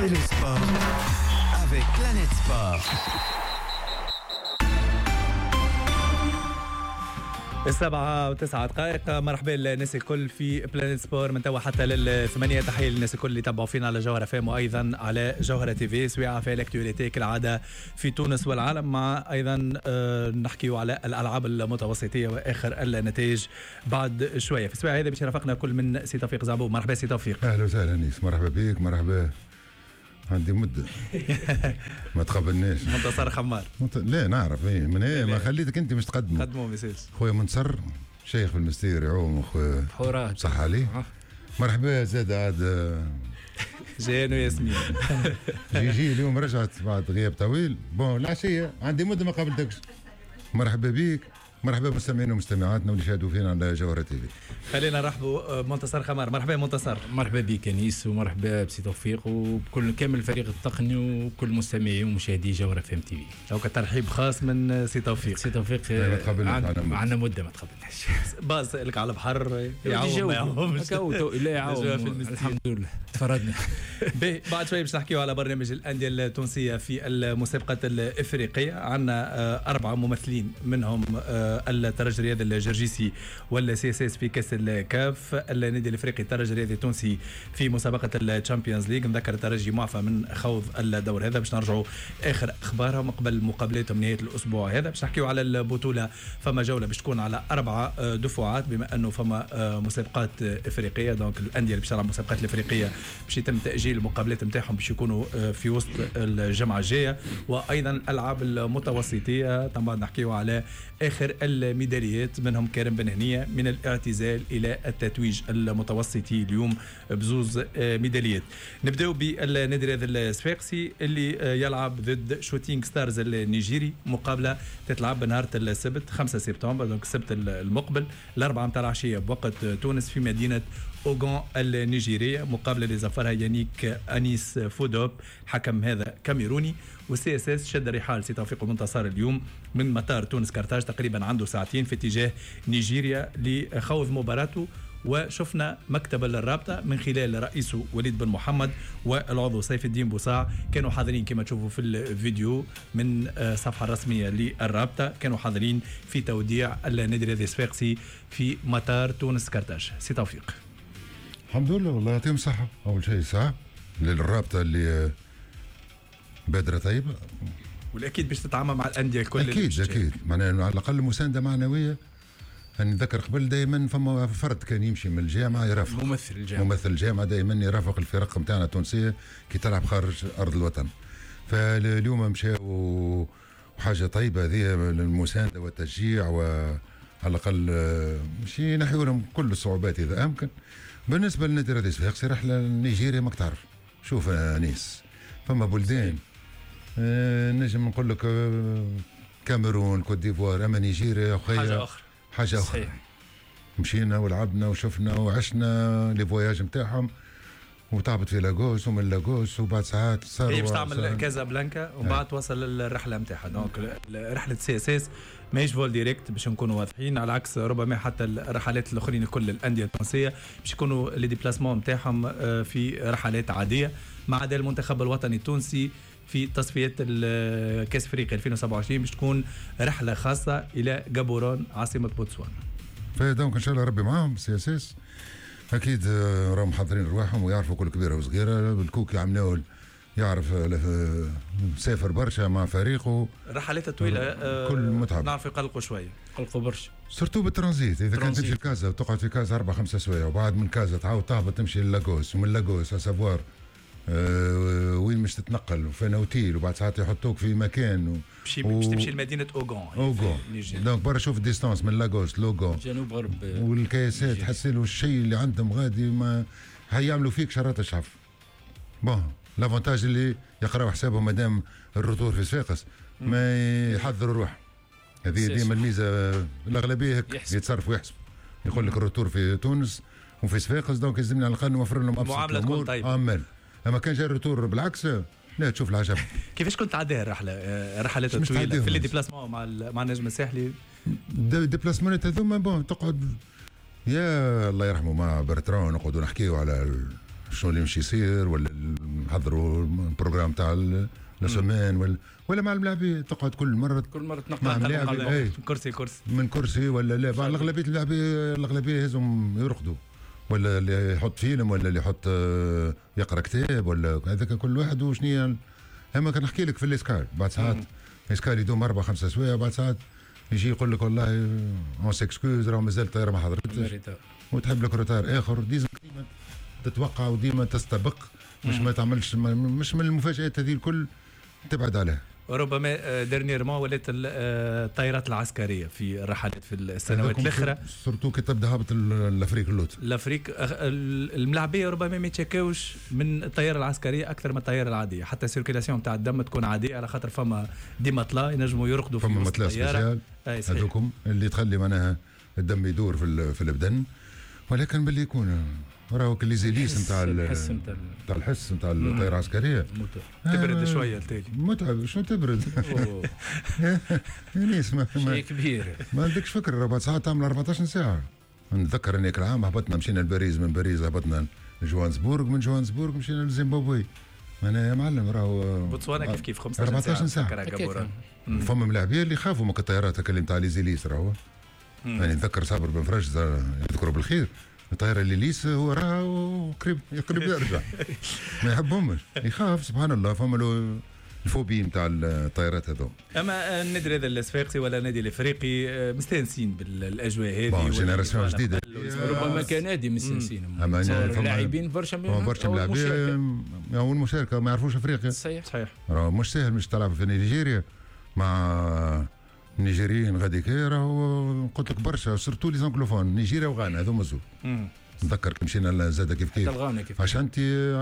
Retrouvez le sport avec Planète Sport. 7:09، مرحبا للناس الكل في Planète Sport من توا حتى لل8. تحية للناس الكل اللي تبعوا فينا على جوهرة FM وايضا على جوهرة TV، سويعة في l'actualité كالعادة في تونس والعالم، مع ايضا نحكيو على الالعاب المتوسطية واخر النتائج بعد شوية. في السويعة هذه باش يرافقنا كل من سي توفيق زعبوب. مرحبا سي توفيق. اهلا وسهلا انيس، مرحبا بك. مرحبا، عندي مدة ما تقابلناش. منتصر خمار. لا نعرف ايه من ايه ما خليتك انت مش تقدمه. قدمه ما يسالش. خويا منتصر شيخ في المستير يعوم خويا حورات صح عليه. مرحبا زاد عاد جيان وياسمين. جي اليوم رجعت بعد غياب طويل. bon العشية عندي مدة ما قابلتكش. مرحبا بك، مرحبا بمستمعينا ومستمعاتنا واللي شاهدوا فينا على جوهرة TV. خلينا نرحبوا منتصر خمار. مرحبا منتصر. مرحبا بك انيس، ومرحبا بسي توفيق وبكل كامل الفريق التقني وكل مستمعي ومشاهدي جوهرة FM TV. donc ترحيب خاص من سي توفيق. سي توفيق عندنا مده ما تقابلناش. باز لك على البحر يعوم ما يعومش. لا يعوم الحمد لله تفردنا. بعد شوي باش نحكيو على برنامج الاندية التونسية في المسابقة الافريقية. عندنا 4 ممثلين منهم الترجي الرياضي الجرجيسي وال CSS في كاس الكاف، النادي الافريقي الترجي الرياضي التونسي في مسابقة ال Champions League. نذكر الترجي معفى من خوض الدور هذا، باش نرجعوا اخر اخبارهم قبل مقابلاتهم نهاية الاسبوع هذا. باش نحكيو على البطولة، فما جولة باش تكون على 4 دفعات بما انه فما مسابقات افريقية، donc الاندية اللي باش تلعب مسابقات الافريقية باش يتم تاجيل المقابلات نتاعهم باش يكونوا في وسط الجمعة الجاية، وايضا الالعاب المتوسطيه. طبعا نحكيو على اخر الميداليات منهم كريم بن هنيه من الاعتزال الى التتويج المتوسطي اليوم بزوز ميداليات. نبداو بالنادي الرياضي الصفاقسي اللي يلعب ضد شوتينغ ستارز النيجيري، مقابله تتلعب نهار السبت 5 سبتمبر، donc السبت المقبل 4 متاع العشية بوقت تونس في مدينة اوغون النيجيريه، مقابله اللي زفرها يانيك انيس فودوب، حكم هذا كاميروني. وال CSS شد رحال سي توفيق المنتصر اليوم من مطار تونس كارتاج، تقريبا عنده ساعتين في اتجاه نيجيريا لخوض مباراته. وشفنا مكتب الرابطة من خلال رئيسه وليد بن محمد والعضو سيف الدين بوصاع كانوا حاضرين كما تشوفوا في الفيديو من الصفحة الرسمية للرابطة، كانوا حاضرين في توديع النادي الرياضي الصفاقسي في مطار تونس كارتاج. سي توفيق. الحمد لله، والله يعطيهم الصحة. أول شيء ساعة للرابطة اللي بادرة طيبة، والأكيد باش تتعامل مع الأندية الكل. أكيد أكيد، معناها على الأقل مساندة معنوية. أنا نتذكر قبل دائما فما فرد كان يمشي من الجامعة يرافق ممثل الجامعة دائما يرافق الفرق نتاعنا التونسية كي تلعب خارج أرض الوطن. فاليوم مشاو وحاجة طيبة هذه المساندة والتشجيع، وعلى الأقل مش ينحيوا لهم كل الصعوبات إذا أمكن. بالنسبة للنادي الرياضي الصفاقسي رحلة لنيجيريا ماك تعرف. شوف أنيس، فما بلدان نجم نقول لك كاميرون، كوت ديفوار، أما نيجيريا حاجة أخرى. حاجة أخرى. مشينا ولعبنا وشفنا وعشنا les voyages نتاعهم، وتهبط في لاغوس ومن لاغوس وبعد ساعات صاروا هي باش تعمل كازابلانكا ومن بعد توصل الرحلة نتاعها. donc رحله CSS ماهيش vol direct باش نكونوا واضحين، على عكس ربما حتى الرحلات الاخرين كل الاندية التونسية باش يكونوا les déplacements نتاعهم في رحلات عادية، ما عدا المنتخب الوطني التونسي في تصفية كاس افريقيا 2027 باش تكون رحله خاصة الى غابورون عاصمة بوتسوانا. ف donc ان شاء الله ربي معاهم CSS. اكيد راهم محضرين رواحهم ويعرفوا كل كبيرة وصغيره. الكوكي عملناه يعرف سافر برشا مع فريقه، الرحلات الطويلة كل متعب، نعرف يقلقوا شوية، يقلقوا برشا surtout بال transit. اذا كان تمشي لكازا وتقعد في كازا 4 5 سوايع، وبعد من كازا تعاود تهبط تمشي للاغوس، ومن لاغوس à savoir وين مش تتنقل وفين اوتيل، وبعد ساعات يحطوك في مكان باش تمشي لمدينة اوغون. donc برا شوف ال distance من لاغوس لوغون جنوب غرب، والكياسات تحس له الشيء اللي عندهم غادي ما هيعملوا فيك شرات الشعف. bon l'avantage اللي يقراو حسابهم مادام ال retour في صفاقس ما يحضروا روحهم. هذه ديما الميزة، الاغلبية هيك يتصرفوا ويحسبوا، يقول لك ال retour في تونس وفي صفاقس، donc يلزمنا على الاقل نوفر لهم ابسط المعاملة تكون طيبة. اما كان جا ال retour بالعكس لا تشوف العجب. كيفاش كنت تعديها الرحلة، الرحلات الطويلة في les déplacements مع النجم الساحلي؟ déplacement هذوما bon تقعد يا الله يرحمه مع برتران نقعدوا نحكيو على شنو اللي مش يصير ولا نحضروا ال programme تاع la semaine ولا مع الملاعبيه، تقعد كل مرة تنقل كرسي كرسي من كرسي ولا لا. اغلبية اللاعبيه الاغلبية يهزهم يرقدوا، ولا اللي يحط فيلم، ولا اللي يحط يقرا كتاب، ولا هذاك كل واحد وشنيا. اما كان نحكي لك في l'escale بعد ساعات escale يدوم 4 5 سوايع، بعد ساعات يجي يقول لك والله on s'excuse راه مازال الطيارة ما حضرتش وتحب لك retard اخر. ديما تتوقع وديما تستبق، مش ما تعملش، مش من المفاجآت هذه الكل تبعد عليها. ربما dernièrement ولات الطائرات العسكرية في الرحلات في السنوات الاخرى، surtout كي تبدا هابط l'Afrique اللوت. l'Afrique الملاعبيه ربما ما يتشكاوش من الطيارة العسكرية اكثر من الطيارة العاديه، حتى ال circulation تاع الدم تكون عادية على خاطر فما des matelas ينجموا يرقدوا في فما matelas spécial هذوكم اللي تخلي معناها الدم يدور في البدن. ولكن باللي يكون راهو les hélices نتاع الحس نتاع الحس نتاع الطيارة العسكريه. تبرد شوية التالي. متعب، شنو تبرد؟ hélice شيء كبير. ما عندكش فكره، 4 ساعات تعمل 14 ساعه. نتذكر اني العام هبطنا مشينا لباريس، من باريس هبطنا لجوهانسبورغ، من جوهانسبورغ مشينا لزيمبابوي. انا يا معلم راهو بوتسوانا كيف كيف 15 14 ساعه. فما ملاعبيه اللي خافوا من الطيارات اللي نتاع les hélices راهو. يعني نتذكر صابر بن فرج يذكره بالخير، الطيارة les hélices هو راه وقريب قريب يرجع، ما يحبهمش، يخاف، سبحان الله، فما له ال phobie نتاع الطيارات هذو. اما النادي هذا الصفاقسي ولا النادي الافريقي مستانسين بالاجواء هذه. génération جديده. ربما كنادي مستانسين، اما لاعبين برشا. برشا لاعبين اول مشاركة ما يعرفوش افريقيا. صحيح. راه مش سهل مش تلعب في نيجيريا مع النيجيريين غادي، راهو قلت لك برشا surtout les anglophones، نيجيريا وغانا هذوما زوز. نتذكر كي مشينا زاد كيف كيف الغانا كيف عشان انت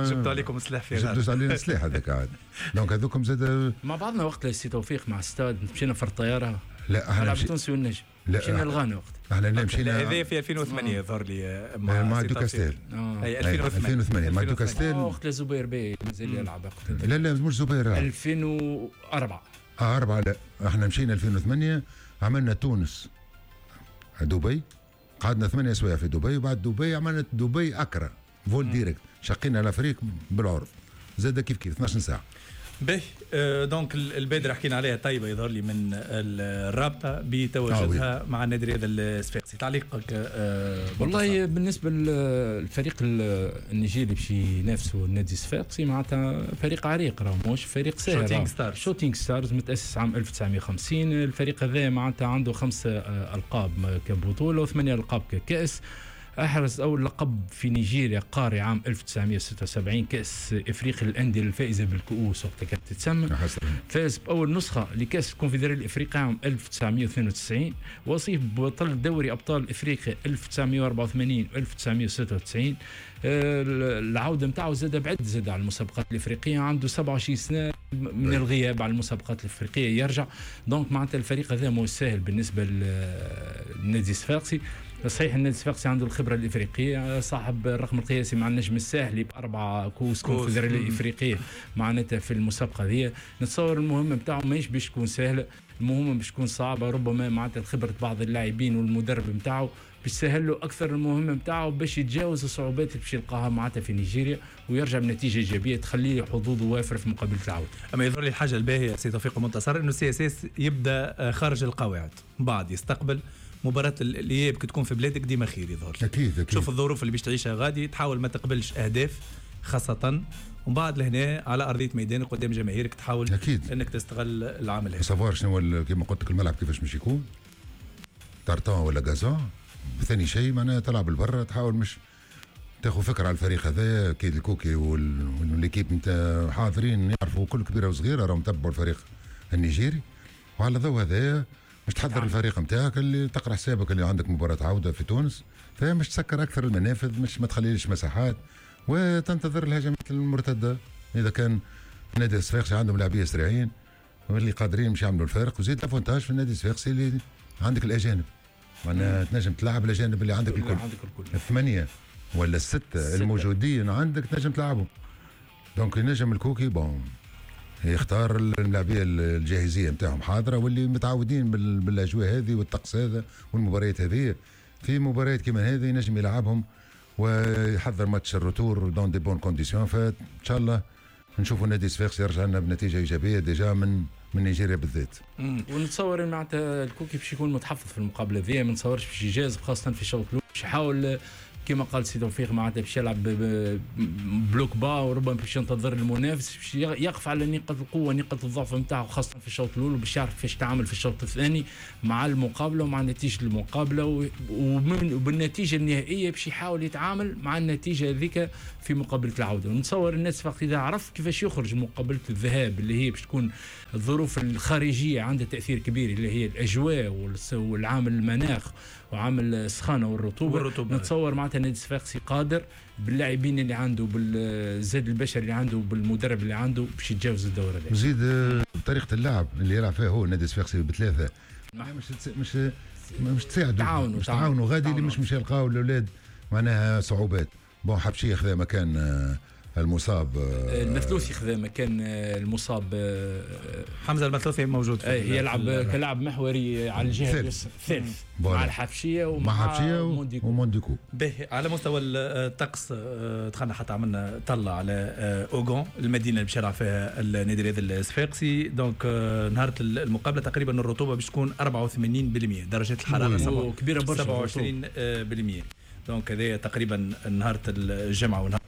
جبتوا عليكم السلاح في غانا، جبتوا علينا السلاح هذاك عاد، donc هذوكم زاد. مع بعضنا وقت سي توفيق مع ستاد مشينا في الطياره. لا احنا التونسي والنجم. لا مشينا لغانا وقت. احنا لا مشينا هذا في 2008 يظهر لي. مع دوكاستيل. اي 2008. 2008 مع دوكاستيل. وقت زبير بي مازال يلعب. لا لا مش زبير. 2004. اه 4. لا احنا مشينا 2008، عملنا تونس دبي، قعدنا 8 سوايع في دبي، وبعد دبي عملنا دبي اكرا vol direct، شقينا l'Afrique بالعرض زاد كيف كيف 12 ساعه. باهي donc البادرة حكينا عليها طيبة يظهر لي من الرابطة بتواجدها مع النادي الرياضي الصفاقسي. تعليقك؟ والله بالنسبة للفريق النيجيري باش ينافسوا النادي الصفاقسي، معناتها فريق عريق، راه مش فريق سهل. شوتينغ ستارز. شوتينغ ستارز متاسس عام 1950. الفريق هذا معناتها عنده خمسة القاب كبطوله وثمانية القاب ككاس. أحرز أول لقب في نيجيريا قاري عام 1976، كأس إفريقيا للأندية الفائزة بالكؤوس وقتها كانت تتسمى. فاز بأول نسخة لكأس الكونفدرالية الإفريقية عام 1992، وصيف بطل دوري أبطال إفريقيا 1984 و 1996. العودة نتاعو زاد بعد زاد على المسابقات الإفريقية، عنده 27 سنة من الغياب على المسابقات الإفريقية يرجع. donc معناتها الفريق هذا مو سهل بالنسبة للنادي الصفاقسي. صحيح النادي الصفاقسي عنده الخبرة الافريقيه، صاحب الرقم القياسي مع النجم الساحلي باربعة كؤوس كونفدراليه افريقية معناتها في المسابقة هذه. نتصور المهمة نتاعو ماهيش باش تكون سهله، المهمة باش تكون صعبه. ربما معناتها خبره بعض اللاعبين والمدرب نتاعو باش تسهل له اكثر المهمة نتاعو باش يتجاوز الصعوبات اللي باش يلقاها معناتها في نيجيريا ويرجع بنتيجة ايجابية تخليه حظوظه وافرة في مقابله العوده. اما يظهر لي الحاجة الباهيه سي توفيق منتصر انه CSS يبدا خارج القواعد، بعد يستقبل مباراة الإياب كي تكون في بلادك ديما خير يظهر. أكيد. شوف الظروف اللي باش تعيشها غادي، تحاول ما تقبلش أهداف خاصة، ومن بعد لهنا على أرضية ميدانك قدام جماهيرك تحاول أنك تستغل العامل هذا. savoir شنو كيما قلت لك الملعب كيفاش مش يكون، tartan ولا gazon. ثاني شيء معناها تلعب البرا، تحاول مش تاخذ فكرة على الفريق هذا. اكيد الكوكي و l'équipe نتاع حاضرين يعرفوا كل كبيرة وصغيره، راهم تبعوا الفريق النيجيري، وعلى ضوء هذا مش تحضر الفريق نتاعك اللي تقرا حسابك اللي عندك مباراة عوده في تونس، فمش تسكر اكثر المنافذ، مش ما تخليش مساحات وتنتظر الهجمات المرتده. اذا كان نادي الصفاقسي عندهم لاعبيه سريعين واللي قادرين مش يعملوا الفارق، وزيد l'avantage في النادي الصفاقسي اللي عندك الاجانب، معناها تنجم تلعب الاجانب اللي عندك الكل، عندك الكل الثمانية ولا الستة الموجودين عندك تنجم تلعبهم. donc ينجم الكوكي bon يختار اللاعبيه الجاهزيه نتاعهم حاضره واللي متعودين بالاجواء هذه والطقس هذا والمباريات هذه. في مباريات كما هذه ينجم يلعبهم ويحضر match ال retour dans de bonnes conditions، فان شاء الله. نشوفوا نادي صفاقس يرجع لنا بنتيجة ايجابية déjà من نيجيريا بالذات. ونتصور معناتها الكوكي باش يكون متحفظ في المقابلة ذي، ما نتصورش باش يجازف خاصة في الشوط الاول، باش يحاول كما قال سي توفيق معناتها باش يلعب bloc bas، وربما باش ينتظر المنافس، باش يقف على نقاط القوة نقاط الضعف نتاعو خاصة في الشوط الاول، وباش يعرف كيفاش يتعامل في الشوط الثاني مع المقابلة ومع نتيجة المقابلة، وبالنتيجة النهائية باش يحاول يتعامل مع النتيجة هذيك في مقابله العودة. ونتصور الناس فقط اذا عرف كيفاش يخرج مقابله الذهاب اللي هي باش تكون الظروف الخارجية عندها تاثير كبير، اللي هي الاجواء والعامل المناخ وعامل السخانه والرطوبة. نتصور معناتها النادي الصفاقسي قادر باللاعبين اللي عنده، بالزاد البشري اللي عنده، بالمدرب اللي عنده، باش يتجاوز الدورة هذه. زيد طريقه اللعب اللي يلعب فيها هو النادي الصفاقسي بثلاثة مش تساعدوا، مش تعاونوا غادي اللي مش يلقاو الاولاد معناها صعوبات. bon حبشي خذا مكان المصاب، المثلوثي خذا مكان المصاب، حمزة المثلوثي موجود يلعب كلاعب محوري على الجهة الثالث مع الحبشيه ومع ومونديكو. به على مستوى الطقس دخلنا حتى عملنا طلع على اوغون المدينة اللي باش يلعب فيها النادي الرياضي الصفاقسي. donc نهار المقابلة تقريبا الرطوبة باش تكون 84%، درجه الحرارة كبيرة برشا 27%. donc هذايا تقريبا نهار الجمعة ونهار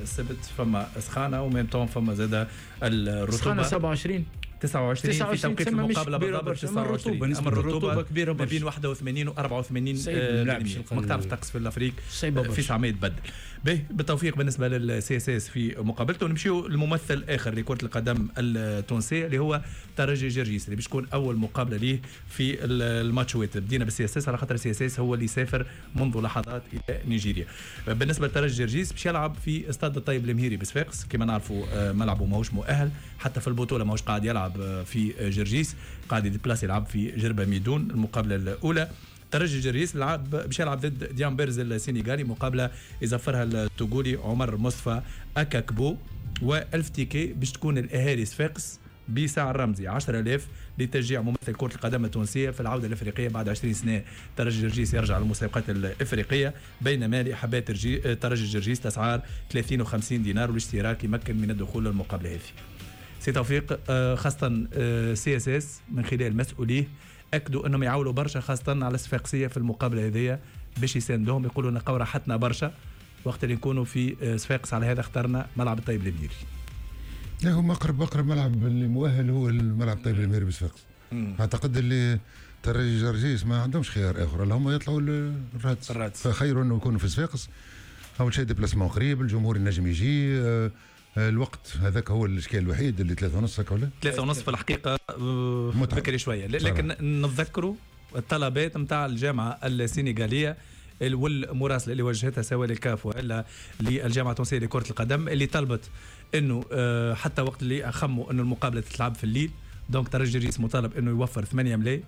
السبت فما سخانه، و même temps فما زاده الرطوبة سخانه 27 29 في توقيت المقابلة بالضبط 29. اما الرطوبة كبيرة ما بين 81 و 84. ماك تعرف الطقس في l'Afrique في ساعة ما يتبدل. به بالتوفيق بالنسبة لل CSS في مقابلته. نمشيو للممثل الاخر لكرة القدم التونسية اللي هو ترجي جرجيس، اللي باش تكون اول مقابله ليه في الماتشوات. بدينا بال CSS على خاطر ال CSS هو اللي سافر منذ لحظات الى نيجيريا. بالنسبة لترجي جرجيس باش يلعب في استاد الطيب المهيري بصفاقس، كما نعرفوا ملعبه ماهوش مؤهل حتى في البطولة، ماهوش قاعد يلعب في جرجيس، قاعد يديبلاس يلعب في جربة ميدون. المقابلة الاولى ترجي جرجيس لعب باش يلعب ضد ديامبيرز السنغالي، مقابله يزفرها التوغولي عمر مصطفى اكاكبو. و1000 ticket باش تكون الاهالي صفاقس بسعر رمزي 10000 لتشجيع ممثل كرة القدم التونسية في العودة الأفريقية بعد 20 سنة. ترجي جرجيس يرجع للمسابقات الأفريقية، بينما لأحباء ترجي جرجيس الأسعار 30 و50 دينار، والاشتراك يمكن من الدخول للمقابلة هذه. سي توفيق، خاصة CSS من خلال مسؤولية أكدوا أنهم يعولوا برشا خاصة على الصفاقسية في المقابلة هذه باش يساندوهم، يقولوا نلقاو راحتنا برشا وقت اللي نكونوا في صفاقس، على هذا اخترنا ملعب الطيب المهيري. لا هو اقرب ملعب اللي مؤهل هو الملعب الطيب المهيري بصفاقس. اعتقد اللي ترجي جرجيس ما عندهمش خيار اخر، اللي هم يطلعوا الرادس، فخير انه يكونوا في صفاقس. اول شيء déplacement قريب، الجمهور النجم يجي، الوقت هذاك هو الاشكال الوحيد اللي 3:30 هكا ولا 3:30 في الحقيقة بكري شوية، لكن نتذكروا الطلبات نتاع الجامعة السنغاليه والمراسله اللي وجهتها سواء للكاف والا للجامعة التونسية لكرة القدم، اللي طلبت انه حتى وقت اللي خموا انه المقابلة تتلعب في الليل. donc ترجي جرجيس مطالب انه يوفر 8 ملايين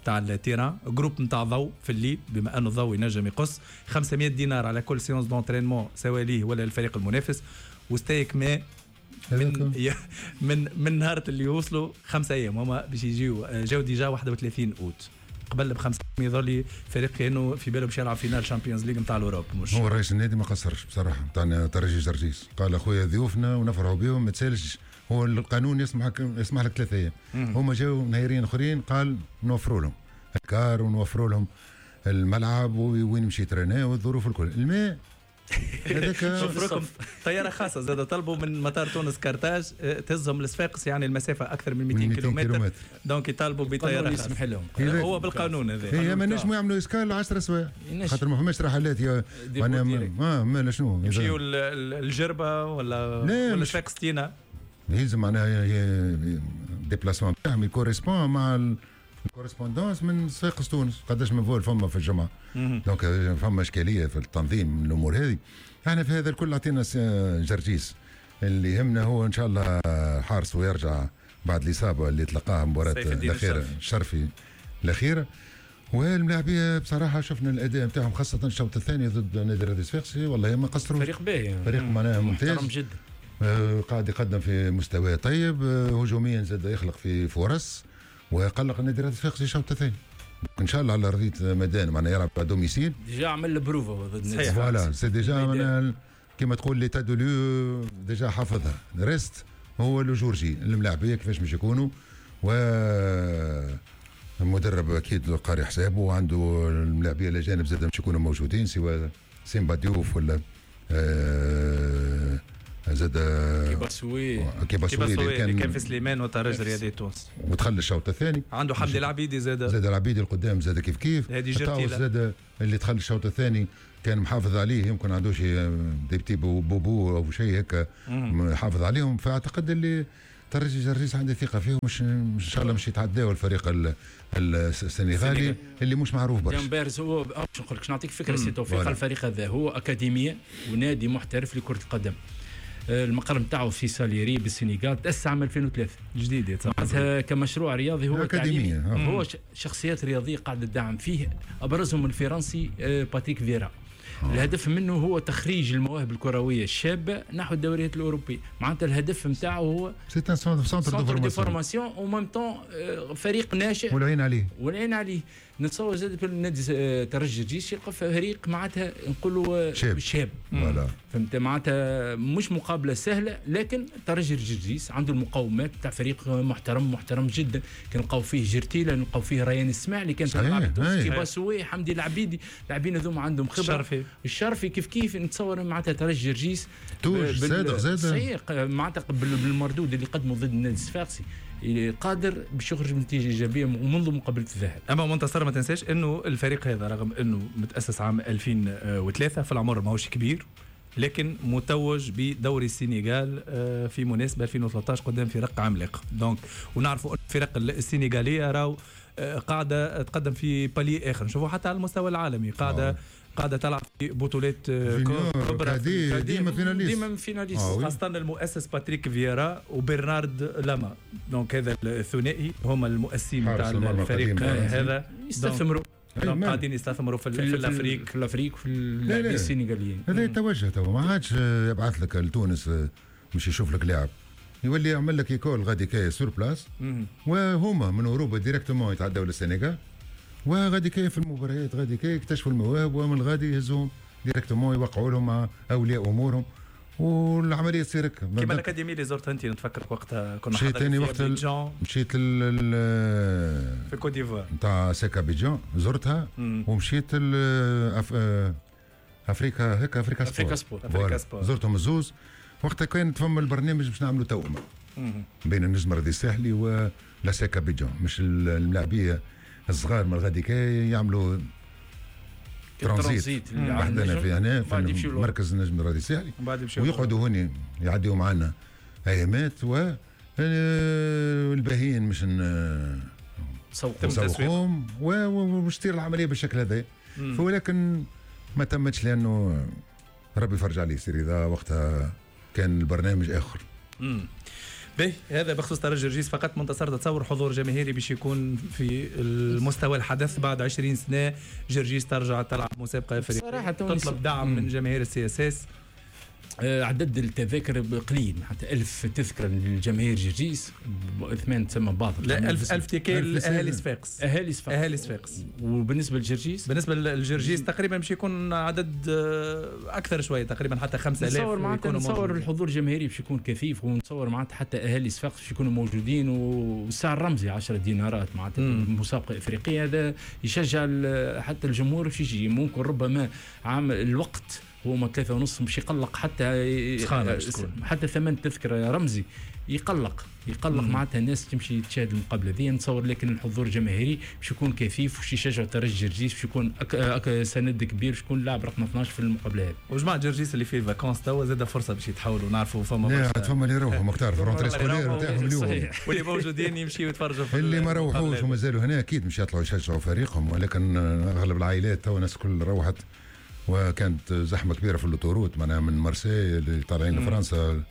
تاع ال terrain، groupe نتاع ضوء في الليل بما انه الضوء ينجم يقص، 500 دينار على كل séance d'entraînement سواء ليه ولا الفريق المنافس، وستيك ماء من نهار اللي يوصلوا 5 ايام هما باش يجيو، جاو déjà 31 اوت قبل ب5 يظل لي فريق كانه في باله باش يلعب finale Champions League نتاع l'Europe. مش هو رئيس النادي ما قصرش بصراحة نتاع ترجي جرجيس، قال اخويا ضيوفنا ونفرحوا بهم ما تسالش، هو القانون يسمح لك 3 ايام، هما جاوا نهارين اخرين قال نوفروا لهم ال car ونوفروا لهم الملعب وين يمشي ترينا والظروف الكل. الماء هذاك شوف طيارة خاصة زاد طلبوا من مطار تونس كارتاج تهزهم لصفاقس، يعني المسافة اكثر من 200 كيلومتر، donc يطالبوا بطيارة خاصة. يسمح لهم هو بالقانون هذا. هي ما نجموا يعملوا escale 10 سوايع خاطر ما فماش رحلات يا ما شنو يمشيو الجربه ولا صفاقس تينا، يلزم معناها déplacement تاعهم ي correspond مع ال correspondance من صفاقس تونس، قداش من vol فما في الجمعة. donc فما اشكالية في التنظيم من الامور هذه. احنا في هذا الكل عطينا جرجيس، اللي يهمنا هو ان شاء الله حارس ويرجع بعد الاصابة اللي تلقاها مباراة الاخيرة الشرفي الاخيرة. والملاعبيه بصراحة شفنا الاداء نتاعهم خاصة الشوط الثاني ضد نادي الرياضي الصفاقسي، والله ما قصروا، فريق باهي، فريق معناها ممتاز محترم جدا، قاعد يقدم في مستوى طيب، هجوميا زاد يخلق في فرص ويقلق النادي الرياضي الصفاقسي الشوط الثاني. ان شاء الله على ارضية ميدان معناها يلعب à domicile، déjà عمل بروفا ضد النادي، voilà c'est déjà معناها كما تقول l'état des lieux déjà حافظها، reste هو le jour J الملاعبيه كيفاش باش يكونوا، و المدرب اكيد قاري حسابه وعنده الملاعبيه الاجانب زاد باش يكونوا موجودين، سواء سيمبا ديوف ولا زاد كيباسوي اللي كان في سليمان وترجي الرياضي تونس ودخل الشوط الثاني. عنده حمدي العبيدي زاد العبيدي القدام زاد كيف كيف، زاد اللي دخل الشوط الثاني كان محافظ عليه، يمكن عنده شي des petits bobos او شيء هكا محافظ عليهم. فاعتقد اللي ترجي جرجيس عنده ثقة فيهم، مش ان شاء الله مش يتعداو الفريق السنغالي اللي مش معروف برشا. جامبيرز هو باش نقول لك نعطيك فكرة سي توفيق، الفريق هذا هو اكاديمية ونادي محترف لكرة القدم، المقر نتاعو في ساليري بالسنغال، تأسس عام 2003 جديد معناتها كمشروع رياضي هو أكاديمية، هو شخصيات رياضية قاعدة تدعم فيه، أبرزهم الفرنسي باتريك فيرا. الهدف منه هو تخريج المواهب الكروية الشابة نحو الدوريات الاوروبية، معناتها الهدف نتاعو هو c'est un centre de formation au même temps فريق ناشئ والعين عليه والعين عليه. نتصور زاد النادي ترجي الجيش يلقى فريق معناتها نقولوا شاب فهمت، معناتها مش مقابله سهلة، لكن ترجي الجرجيس عنده المقومات تاع فريق محترم محترم جدا. كنلقاو فيه جرتيله، نلقاو فيه ريان السماعي اللي كان تلعب تونس، كيباسوي، حمدي العبيدي، اللاعبين هذوما عندهم خبره. الشرفي كيف كيف. نتصور معناتها ترجي الجرجيس توج زاد صحيح معناتها بالمردود اللي قدمه ضد النادي الصفاقسي قادر باش يخرج بنتيجة ايجابية منذ مقابله الذهاب. اما منتصر ما تنساش انه الفريق هذا رغم انه متاسس عام 2003 في العمر ماهوش كبير، لكن متوج بدوري السنغال في مناسبة 2013 قدام فرق عملاق. donc ونعرفوا الفرق السنغاليه راهو قاعدة تقدم في palier اخر، نشوفوا حتى على المستوى العالمي قاعدة تلعب في بطولات كبرى، ديما finaliste، ديما finaliste، خاصة المؤسس باتريك فييرا وبرنارد لاما. donc هذا الثنائي هما المؤسسين تاع الفريق هذا، يستثمروا قاعدين يستثمروا في l'Afrique، في l'Afrique في اللاعبين السنغاليين. هذا يتوجه تو ما عادش يبعث لك لتونس مش يشوف لك لاعب، يولي يعمل لك école غادي كي sur place، وهما من اوروبا directement يتعداو للسنغال، وغادي كي في المباريات غادي كي يكتشفوا المواهب، ومن غادي يهزوهم directement يوقعوا لهم مع اولياء امورهم، والعملية تصير هكا. كيما l'académie اللي زرتها انت نتفكر وقتها كنا مشيت ثاني وقت مشيت في كوت ديفوار نتاع سيكا بيجان زرتها، ومشيت افريكا هكا افريكا سبور زرتهم الزوز. وقتها كانت فما البرنامج باش نعملوا توأمه بين النجم الرياضي الساحلي و l'ASEC ابيجان، مش الملاعبيه الصغار من غادي كي يعملوا ترانزيت عندنا في هنا في مركز النجم الرياضي الساحلي، ويقعدوا هنا يعديوا معنا ايامات، و الباهيين مش نسوقهم ومش تصير العملية بالشكل هذا. ولكن ما تمتش لانه ربي فرج عليه سي رضا، وقتها كان البرنامج اخر. به هذا بخصوص ترجي الجرجيس فقط. منتصر تتصور حضور جماهيري باش يكون في المستوى الحدث بعد 20 سنة جرجيس ترجع تلعب مسابقة افريقية، تطلب دعم من جماهير ال CSS؟ عدد التذاكر قليل، حتى 1000 تذكره للجماهير جرجيس، اثمان تسمى باطل. لا 1000 ticket لاهالي صفاقس، اهالي صفاقس. وبالنسبة للجرجيس، بالنسبة للجرجيس تقريبا باش يكون عدد اكثر شوية، تقريبا حتى 5000. نتصور معناتها نتصور الحضور الجماهيري باش يكون كثيف، ونتصور معناتها حتى اهالي صفاقس باش يكونوا موجودين، والسعر رمزي 10 دينارات معناتها مسابقة افريقية، هذا يشجع حتى الجمهور باش يجي. ممكن ربما عام الوقت هو ما 3.5 مش يقلق حتى حتى ثمن تذكرة رمزي يقلق معناتها الناس تمشي تشاهد المقابلة ذي. نتصور لكن الحضور الجماهيري باش يكون كثيف، وش يشجع ترجي جرجيس باش يكون سند كبير، باش يكون لاعب رقم 12 في المقابلة هذه. وجماعه جرجيس اللي في vacances توا زاد فرصة باش يتحولوا، نعرفوا فما فما اللي يروحوا ماك تعرف rentrée scolaire نتاعهم اليوم، واللي موجودين يمشيوا يتفرجوا في اللي ما روحوش ومازالوا هنا اكيد مش يطلعوا يشجعوا فريقهم، ولكن اغلب العائلات توا الناس الكل روحت، وكانت زحمة كبيرة في l'autoroute معناها من مارسيل اللي طالعين لفرنسا،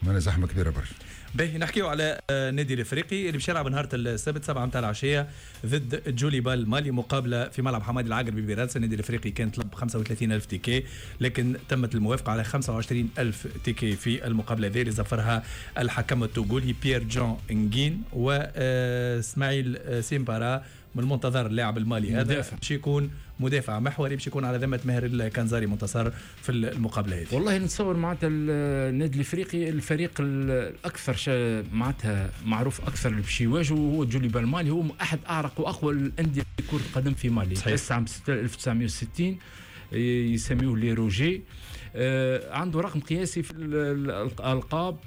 معناها زحمة كبيرة برشا. باهي نحكيو على النادي الافريقي اللي باش يلعب نهار السبت 7 متاع العشية ضد جوليبال المالي، مقابله في ملعب حمادي العقربي ببرادس. النادي الافريقي كان طلب 35000 ticket، لكن تمت الموافقة على 25000 ticket في المقابلة هذه اللي زفرها الحكم التوغولي بيير جون انجين واسماعيل سيمبارا من المنتظر اللاعب المالي هذا باش يكون مدافع محوري، باش يكون على ذمه ماهر الكنزاري منتصر في المقابلة هذه. والله نتصور معناتها النادي الافريقي الفريق الاكثر معناتها معروف اكثر اللي باش يواجهه هو جوليبا المالي، هو احد اعرق واقوى الاندية في كره القدم في مالي. تأسس عام 1960، يسميوه les rouges. عنده رقم قياسي في الالقاب،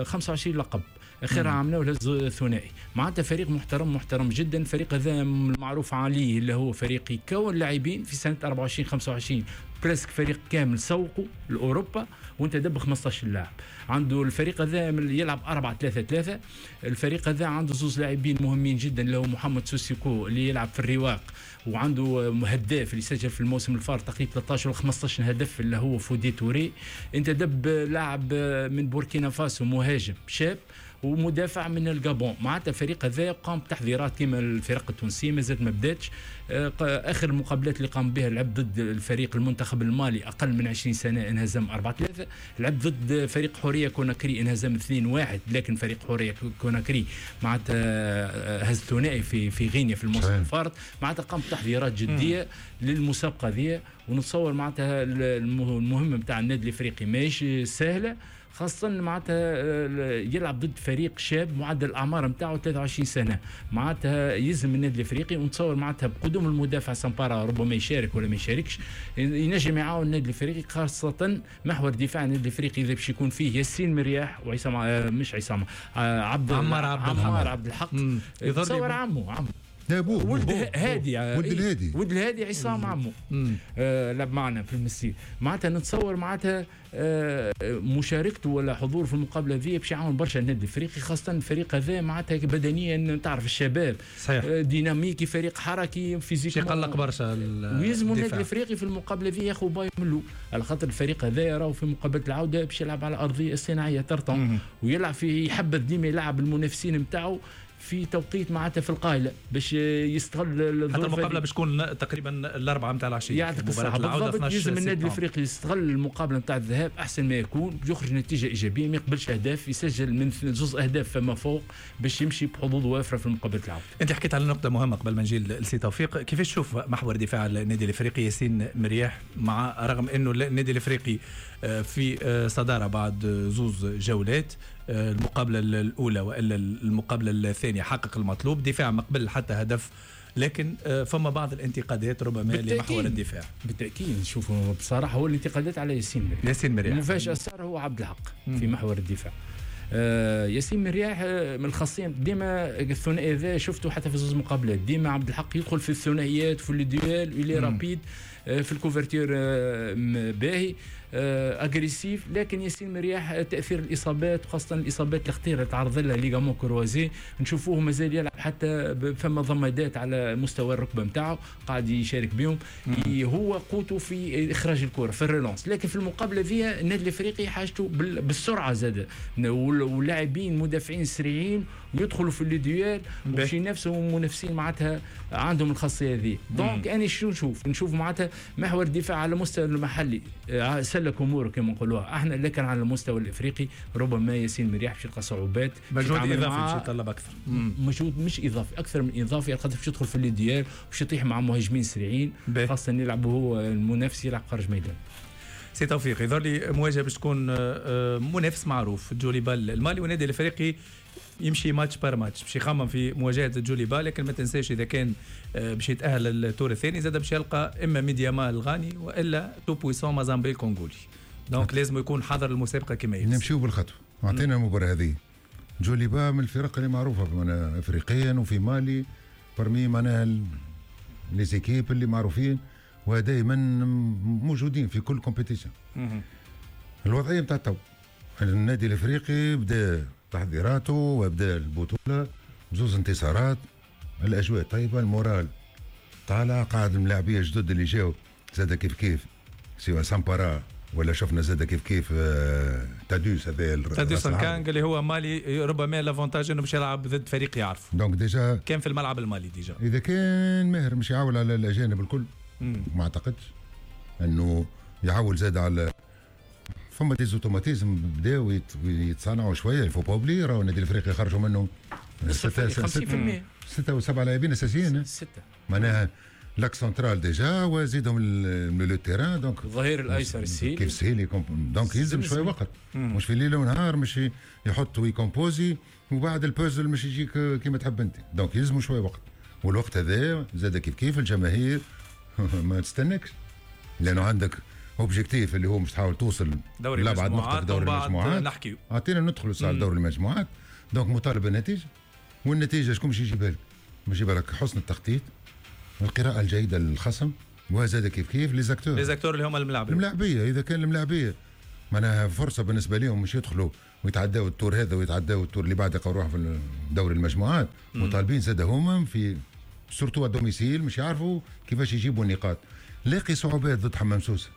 25 لقب، اخرها عملناه ثنائي. معناتها فريق محترم محترم جدا. الفريق هذا المعروف عليه اللي هو فريق يكون لاعبين في سنة 24 25 presque فريق كامل سوقوا لاوروبا وانت دب 15 لاعب. عنده الفريق هذا يلعب 4-3-3. الفريق هذا عنده زوز لاعبين مهمين جدا اللي هو محمد سوسيكو اللي يلعب في الرواق، وعنده هداف اللي سجل في الموسم الفار تقريبا 13 ولا 15 هدف اللي هو فودي توري. انت دب لاعب من بوركينا فاسو مهاجم شاب ومدافع من الجابون. معناتها الفريق هذا قام بتحضيرات كما الفرق التونسية مازالت ما بداتش. اخر المقابلات اللي قام بها لعب ضد الفريق المنتخب المالي اقل من 20 سنة انهزم 4-3، لعب ضد فريق حورية كوناكري انهزم 2-1، لكن فريق حورية كوناكري معناتها هز ثنائي في غينيا في الموسم الفارط. معناتها قام بتحضيرات جدية للمسابقه ذي، ونتصور معناتها المهمة نتاع النادي الافريقي ماهيش سهلة، خاصة معناتها يلعب ضد فريق شاب معدل الأعمار نتاعو 23 سنة. معناتها يلزم النادي الأفريقي، ونتصور معناتها بقدوم المدافع سامبارا ربما يشارك ولا ما يشاركش، ينجم يعاون النادي الأفريقي، خاصة محور دفاع النادي الأفريقي إذا باش يكون فيه ياسين مرياح وعصام، مش عصام، عمار عبد الحق. تصور عمه ولد هادي، ولد الهادي عصام عمو لعب معنا في المسير. معناتها نتصور معناتها مشاركته ولا حضور في المقابلة ذي باش يعاون برشا النادي الافريقي، خاصة الفريق هذا معناتها بدنيا تعرف الشباب صحيح. ديناميكي، فريق حركي، physique، يقلق برشا ويلزم النادي الافريقي في المقابلة ذي ياخذ باي منه، على خاطر الفريق هذا راهو في مقابله العودة باش يلعب على ارضية الصناعية tartan، ويلعب في يحبذ ديما يلعب المنافسين نتاعو في توقيت معناتها في القايله باش يستغل الظروف. حتى المقابلة باش تكون تقريبا 4 نتاع العشية. يعطيك الصحة بالضبط. يلزم النادي الافريقي يستغل المقابلة نتاع الذهاب احسن ما يكون، يخرج نتيجة ايجابية، ما يقبلش اهداف، يسجل من زوز اهداف فما فوق باش يمشي بحظوظ وافرة في مقابله العودة. انت حكيت على نقطة مهمة قبل ما نجي لسي توفيق، كيفاش تشوف محور دفاع النادي الافريقي ياسين مرياح، مع رغم انه النادي الافريقي في صدارة بعد زوز جولات، المقابلة الأولى وإلا المقابلة الثانية حقق المطلوب، دفاع ما قبل حتى هدف، لكن فما بعض الانتقادات ربما لمحور الدفاع. بالتأكيد نشوفوا بصراحة هو الانتقادات على ياسين مرياح. ياسين مرياح المفاجأة صار هو عبد الحق في محور الدفاع. ياسين مرياح من الخاصية ديما الثنائي ذا شفته حتى في زوج مقابلات، ديما عبد الحق يدخل في الثنائيات في les duels، il est rapide في ال couverture باهي agressif، لكن ياسين مرياح تاثير الاصابات وخاصة الاصابات الخطيرة اللي تعرض لها ligaments croisés نشوفوه مازال يلعب حتى فما ضمادات على مستوى الركبة نتاعو قاعد يشارك بهم. هو قوته في اخراج الكره في ال relance، لكن في المقابلة ذي النادي الافريقي حاجته بالسرعة زاد، واللاعبين مدافعين سريعين ويدخلوا في les duels باش ينافسوا منافسين معناتها عندهم الخاصية ذي. donc انا شو نشوف معناتها محور الدفاع على المستوى المحلي سلك اموره كما نقولوها احنا، لكن على المستوى الافريقي ربما ياسين مرياح باش يلقى صعوبات، مجهود اضافي باش يطلب اكثر، مجهود مش اضافي اكثر من اضافي، خاطر باش يدخل في les duels باش يطيح مع مهاجمين سريعين، خاصة يلعب هو المنافس يلعب خارج ميدان. سي توفيق، يظهر لي مواجهة باش تكون منافس معروف جوليبال المالي، والنادي الافريقي يمشي match par match باش يخمم في مواجهة جوليبال، لكن ما تنساش اذا كان باش يتاهل للتور الثاني زاد باش يلقى اما ميدياما الغاني والا تو بويسون مازامبي الكونغولي، donc لازم يكون حاضر المسابقة كما يلزم. نمشيو بالخطوه، اعطينا المباراة هذه. جوليبا من الفرق اللي معروفة افريقيا وفي مالي parmi معناها les équipes اللي معروفين ودائما موجودين في كل compétition. الوضعية نتاع تو النادي الافريقي بدا تحضيراته وبدا البطولة بزوز انتصارات، الاجواء طيبة، ال moral طالع، قاعد الملاعبيه الجدد اللي جاو زاد كيف كيف سواء سامبارا ولا شفنا زاد كيف كيف تادوس، هذا تادوس كانغ اللي هو مالي، ربما l'avantage انه باش يلعب ضد فريق يعرف، donc déjà كان في الملعب المالي déjà. اذا كان ماهر مش يعول على الاجانب الكل ما اعتقدش انه يعول زاد على فما des automatismes بداو يتصانعوا شوية، il faut pas oublier راهو النادي الافريقي خرجوا منه 50%، 6 و7 لاعبين اساسيين، 6 معناها l'axe central déjà وزيدهم milieu terrain، donc الظهير الايسر السهيلي كيف سهيلي، donc يلزم شوية وقت، مش في ليلة ونهار مش يحط وي composer وبعد البوزل مش يجيك كيما تحب انت، donc يلزم شوية وقت، والوقت هذا زاد كيف كيف الجماهير ما تستنكش، لانه عندك objectif اللي هو مش تحاول توصل دوري لابعد نقطة في دوري المجموعات. نحكيو اعطينا ندخلوا ساعة دوري المجموعات، donc مطالب بالنتيجة، والنتيجة شكون باش يجيبها لك؟ باش يجيبها لك حسن التخطيط، القراءة الجيدة للخصم، وزاد كيف كيف les acteurs، les acteurs اللي هما الملاعبيه. الملاعبيه اذا كان الملاعبيه معناها فرصة بالنسبة لهم مش يدخلوا ويتعداو ال tour هذا ويتعداو ال tour اللي بعد يلقاو روحهم في دوري المجموعات، مطالبين زاد هما في surtout à domicile مش يعرفوا كيفاش يجيبوا النقاط. لاقي صعوبات ضد حمام سوسة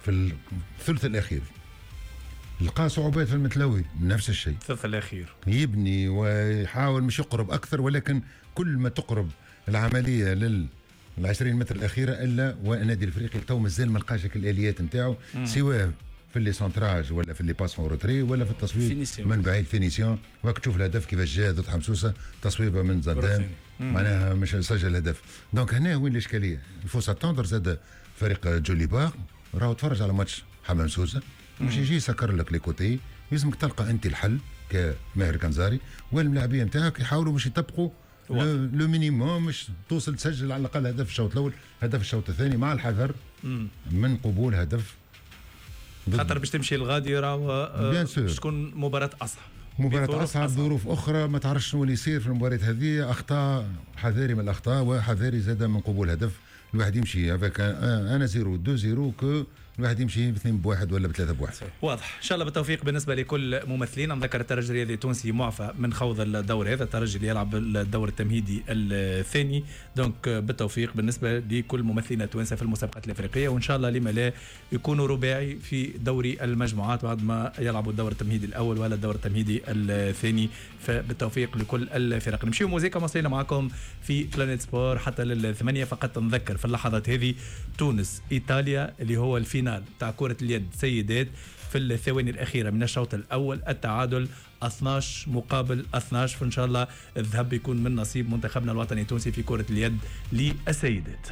في الثلث الاخير، لقى صعوبات في المتلوي نفس الشيء، الثلث الاخير يبني ويحاول مش يقرب اكثر، ولكن كل ما تقرب العملية لل 20 متر الاخيرة الا والنادي الافريقي تو مازال ما لقاش الاليات نتاعو، سواء في les centrages ولا في les passes en retrait ولا في التصويب من بعيد finition. وقت تشوف الهدف كيفاش جاء ضد حمسوسه، تصويبه من زدان معناها مش سجل هدف. donc هنا وين الاشكالية، il faut s'attendre زاد فريق جوليبار راهو تفرج على ماتش حمام سوسة مش يجي يسكر لك les côtés، لازمك تلقى انت الحل كماهر كنزاري والملاعبيه نتاعك يحاولوا باش يطبقوا le minimum مش توصل تسجل على الاقل هدف الشوط الاول، هدف الشوط الثاني، مع الحذر من قبول هدف خاطر باش تمشي الغادي راهو باش تكون مباراة اصعب، مباراة أصعب، ظروف أخرى ما تعرفش شنو اللي يصير في المباراة هذه، أخطاء، حذاري من الأخطاء وحذاري زاد من قبول هدف. الواحد يمشي avec 1-0 2-0 que الواحد يمشي ب2-1 ولا ب3-1. واضح، ان شاء الله بالتوفيق بالنسبة لكل ممثلين. نذكر الترجي الرياضي التونسي معفى من خوض الدور هذا، الترجي اللي يلعب الدور التمهيدي الثاني، donc بالتوفيق بالنسبة لكل ممثلين التوانسة في المسابقات الافريقية، وان شاء الله لما لا يكونوا رباعي في دوري المجموعات بعد ما يلعبوا الدور التمهيدي الاول ولا الدور التمهيدي الثاني. فبالتوفيق لكل الفرق. نمشيو موزيكا مواصلين معكم في بلانيت سبور حتى للثمانيه. فقط نذكر في اللحظات هذه تونس ايطاليا اللي هو ال finale تاع كرة اليد سيدات في الثواني الأخيرة من الشوط الأول، التعادل 12-12، فإن شاء الله الذهب يكون من نصيب منتخبنا الوطني التونسي في كرة اليد للسيدات.